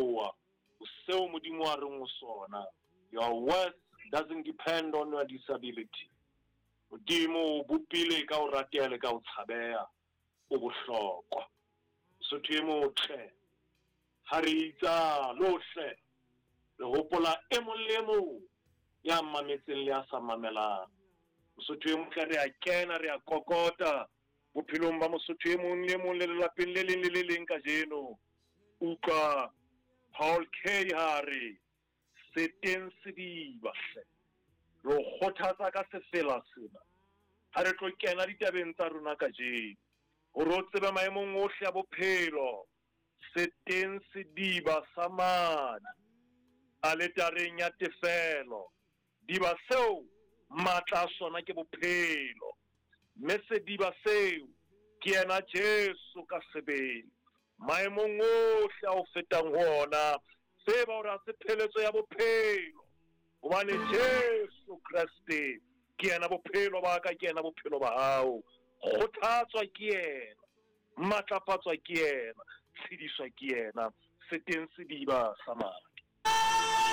Sekgowa, o seo Modimo a reng o sona. Your worth doesn't depend on your disability. Modimo o bopile ka ho rateha le ka ho tshabeha, o bohlokwa. Mosotho e motle, ha re itsalo hle, re hopola e mong le e mong ya mametseng le ya sa mamelang. Mosotho e motle, re a kena, re a kokota bophelong ba mosotho e mong le e mong le lelapeng le leng le le leng kajeno. Utlwa Paul K ha a re, Se teng sediba hle. Re o kgothatsa ka sefela sena ha re tlo kena ditabeng tsa rona kajeno, hore o tsebe maemong ohle a bophelo, se teng sediba sa madi aletareng ya tefelo. Diba seo matla a sona ke bophelo, mme sediba seo ke yena Jesu ka sebele. Maemong ohle a o fetang ho ona, tseba hore ha se pheletso ya bophelo, hobane Jesu Kreste ke yena bophelo ba ka, ke yena bophelo ba hao. Kgothatswa ke yena, matlafatswa ke yena, tshediswa ke yena. Se teng sediba sa madi.